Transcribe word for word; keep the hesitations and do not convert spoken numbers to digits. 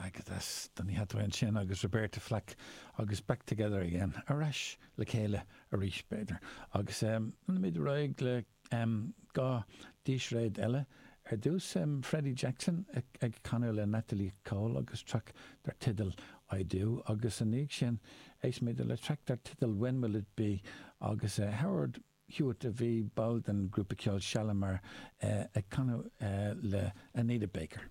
Agat as Donny Hathaway ansin agus Roberta Flack agus Back Together Again, ar ais le chéile arís b'fhéidir. Agus leanfaimid ar aghaidh le dhá dísréad eile. Ar dtús Freddie Jackson ag canadh le Natalie Cole agus traic dar teideal I Do agus ina dhiaidh sin éistfimid le traic dar teideal When Will It Be agus Howard Hewitt a bhí ball den grúpa ceoil Shalamar ag canadh le Anita Baker.